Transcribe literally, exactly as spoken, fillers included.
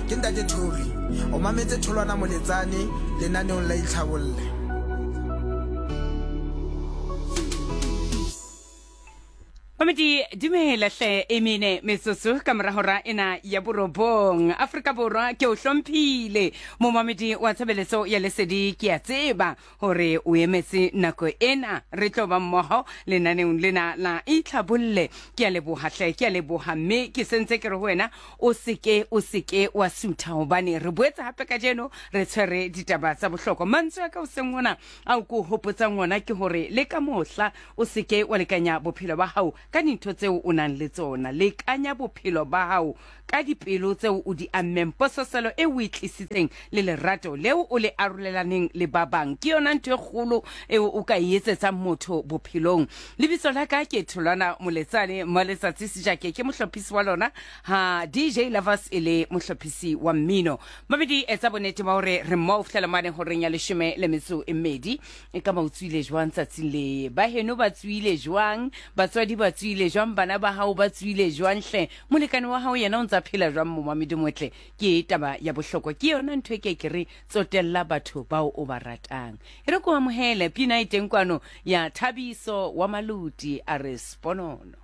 Ke Ntate Thori. O mametse Tholwana Moletsane lenaneong la Itlhabolle. Mamedi dumela hle e mene metsotso ka mora hora ena ya borobong. Afrika Borwa ke o hlomphile momamedi wa tshebeletso ya lesedi, ke a tseba hore o emetse nako ena re tlo ba mmoho lenaneong lena la Itlhabolle. Ke a leboha hle, ke a leboha, mme ke sentse ke re ho wena o seke o seke wa sutha, hobane re boetse hape kajeno re tshwere ditaba tsa bohlokwa. Mantswe a ka hoseng hona ao ke o hopotsang ona ke hore le ka mohla o seke wa lekanya bophelo ba hao ka dintho tseo o nang le tsona. Lekanya bophelo ba hao ka dipelo tseo o di ammeng, pososelo e o e tlisitseng le lerato leo o le arolelaneng le ba bang. Ke yona ntho e kgolo eo o ka e etsetsang motho bophelong. Lebitso la ka ke Tholwana Moletsane Maletsatsi Sejake, ke mohlophisi wa lona ha D J Lovers e le mohlophisi wa mmino. Mabedi etsa bonnete ba hore re mmoho ho fihlela mane horeng ya leshome le metso e mmedi. E ka ba o tswile jwang tsatsing le? Ba heno ba tswile jwang? Batswadi ba tswile jwang? Bana ba hao ba tswile jwang hle? Molekane wa hao yena o ntsa phela jwang momamedi motle? Ke taba ya bohlokwa, ke yona ntho e ke ke re tsotella batho bao o ba ratang. E re ko amohele pina e teng kwano ya Thabiso wa Maluti a re Sponono.